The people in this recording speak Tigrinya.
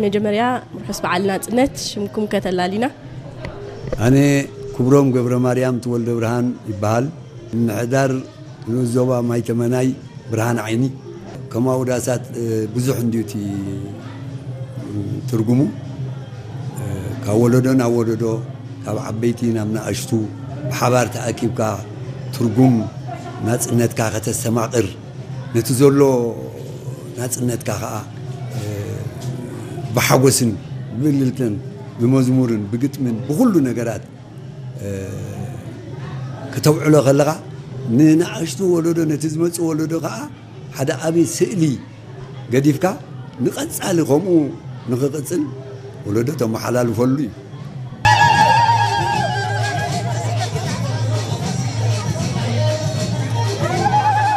መጀመርያ ርሑስ በዓል ናጽነት። ሽምኩም ከተላሊና? ኣነ ክብሮም ገብረ ማርያም ትወልደ ብርሃን ይበሃል። ምምሕዳር ንኡስ ዞባ ማይ ተመናይ ብርሃን ዓይኒ። ከም ኣውዳሳት ብዙሕ እንድዩ እቲ ትርጉሙ። ካብ ወለዶ ናብ ወለዶ፣ ካብ ዓበይቲ ናብ ንኣሽቱ ብሓባር ተኣኪብካ ትርጉም ናጽነትካ ከተስተማቕር፣ ነቲ ዘሎ ናጽነትካ ኸኣ ብሓጎስን ብእልልተን ብመዝሙርን ብግጥምን ብኹሉ ነገራት ከተብዕሎ ከለኻ፣ ንንኣሽቱ ወለዶ፣ ነቲ ዝመጽእ ወለዶ ከኣ ሓደ ዓቢ ስእሊ ገዲፍካ ንቐጻሊ ከምኡ ንኽቕጽል ወለዶ ተመሓላልፈሉ እዩ።